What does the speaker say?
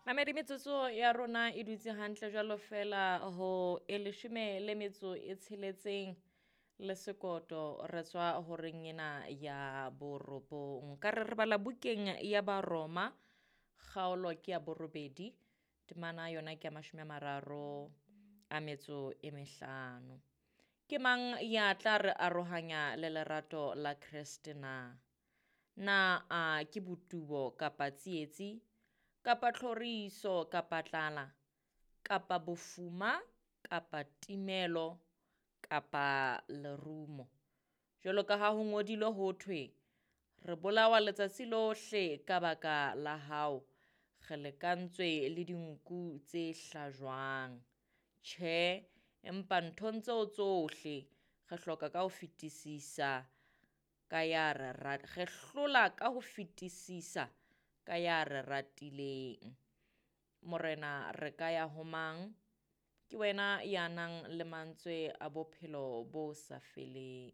Mamedi, metsotso ya rona e dutse hantle jwalo fela ho e leshome le metso e tsheletseng le sekoto re tswa horeng ena ya borobong. Ka re re bala bukeng ya Baroma, kgaolo ke ya borobedi, temana yona ke ya 35. Ke mang ya tla re arohanya le lerato la Kreste na? Na a ke botubo kapa tsietsi, kapa tlhoriso, kapa tlala, kapa bofuma, kapa timelo, kapa lerumo? Jwalo ka ha ho ngodilwe ho thwe, re bolawa letsatsi lohle ka baka la hao, re lekantswe le dinku tse hlajwang. Tjhe, empa nthong tseo tsohle re hloka ka ho fetisisa ka ya re re hlola ka ho fetisisa ka ya re ratileng. Morena, re ka ya ho mang? Ke wena ya nang le mantswe a bophelo bo sa feleng.